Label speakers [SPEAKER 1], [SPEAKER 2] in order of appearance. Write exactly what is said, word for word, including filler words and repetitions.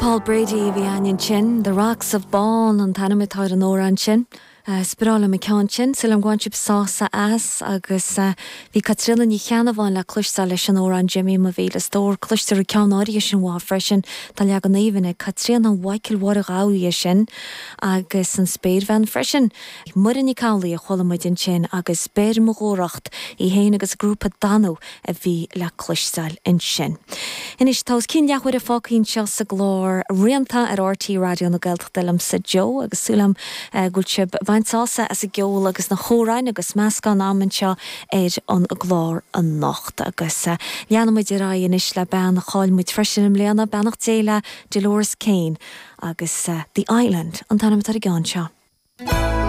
[SPEAKER 1] Paul Brady a bhí ansin, The Rocks of Bawn an t-ainm atá ar an amhrán sin. Uh, is breá liom an ceann sin sílim go bhain sibh sásamh as agus uh, bhí Caitríona Ní Cheannabháin le cloisteáil leis an amhrán Jimmy mo mhíle stór cloistear ceann áirithe sin uaithi freisin tá leagan aoibhinn ag Caitríona Mhichael Mháire Ghabha sin agus an spéirbhean freisin. Muireann Nic Amhlaoibh a chuala muid ansin agus Beir mo dhúthracht í héin agus grúpa Danú a bhí le cloisteáil ansin. Anois tá cinn leathuair fágtha anseo sa gclár Rianta ar R T Raidió na Gaeltachta liomsa Joe agus súil agam uh, go bhfuil sibh ag baint sásamh as an gceol agus na hamhráin agus meascán anseo ar an gclár anocht agus uh, leanfaimid ar aghaidh anois le bean a chaill muid freisin i mbliana beannacht Dé léi Dolores Kane agus uh, The Island an t-ainm atá ar an gceann seo.